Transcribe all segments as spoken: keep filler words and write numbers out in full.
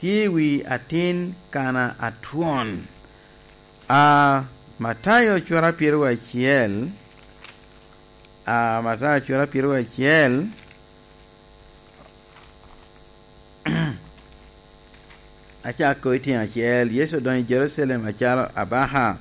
tye i wi atin kana atwon. A, Matayo cura pyeraryo acel, a, Matayo cura pyeraryo acel, acako i tyen acel, Yecu odonyo i Jerucalem acalo abaka.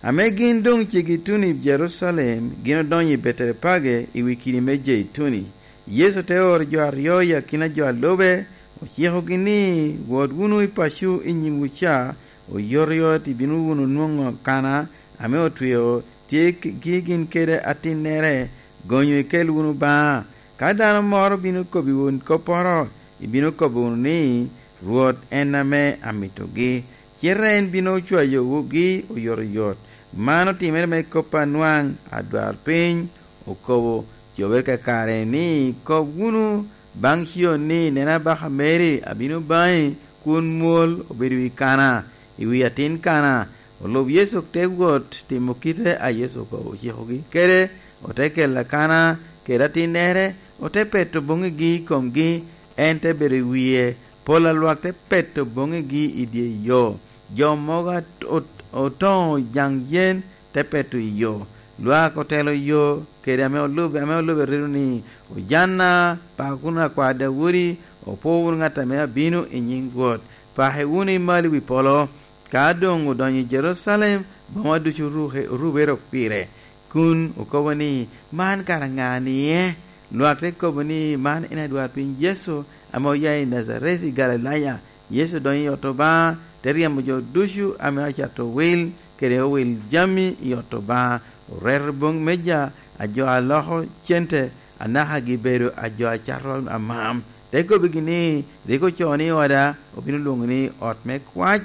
Ame gin doŋ ceggi tuno i Jerucalem, gin odonyo i Beterepage i wi kidi me Jeituni. Yecu te oro jo aryo i akina jo a lube, ocikogi ni, "Wot wunu i paco i nyimwu ca, oyotoyot ibino wunu nwoŋo kana ame otweo tye ki gin kede atinnere, gonyo ikel wunu baŋa. Ka dano moro bino kobbiwu kopporo, ibino kobo wunu ni, 'Rwot en ame amitogi.' Cite en bino cwayowu gi oyotoyot." Man otimere me kop anwaŋ adwarpiny okobo, cobere kakare ni, "Kob wunu baŋ Cion ni, 'Neno, abaka meri abino baŋi kun mwol obedo i kana, i wi atin kana.'" Olub Yecu te wot timo kite a Yecu okobo ocikogi kede, ote kelo akana kede atinnere, ote peto boŋigi i komgi, en te bedo i wie. Pol a lwak te peto boŋigi i dye yo. Jo mogo at-, ot-, otoŋo jaŋ yen te peto i yo. Lwak otelo yo kede ame olube, ame olube redo ni, "Ojanna, pako wunu akwa Daudi, opwo wunu ŋat ame abino i nyiŋ Rwot. Pake wunu i malo i wi polo." Ka doŋ odonyo i Jerucalem, boma ducu oruke-, orubere pire, kun okobo ni, "Man kara ŋa-ni e?" Lwak te kobo ni, "Man en adwarpiny Yecu ame oya i Najaret i Galilaya." Yecu odonyo i ot Obaŋa, te ryemo jo ducu ame ocato wil kede owil jami i ot Obaŋa, oreto boŋ meja a jo a loko cente, anaka gibedo a jo a cato amam. Te kobbigi ni, "Rik ocoo ni oda obino lwoŋo ni ot me kwac,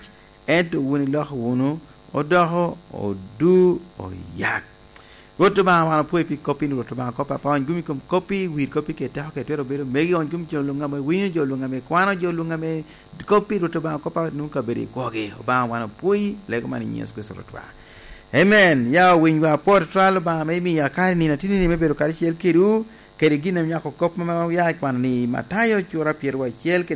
ento wun iloko wunu odoko odu oyak." Rwot Obaŋa, wan opwoyi pi koppi, Rwot Obaŋa, kop apaony gumi kom koppi, wir koppi kede teko kede twero bedo megi, ony gumi jo luŋ ame winyo, jo luŋ ame kwano, jo luŋ ame koppi, Rwot Obaŋa, kop a nwoŋo kabedo i kwogi. Obaŋa, wan opwoyi, lego man i nyiŋ Yecu Kricito Rwotwa. Amen. Ya owinywa apwot twal Obaŋa ame imiya kare nino atini ni me bedo karacel kedwu, kede gin ame nyako kop ame oya i kwano ni Matayo cura pyeraryo acel kede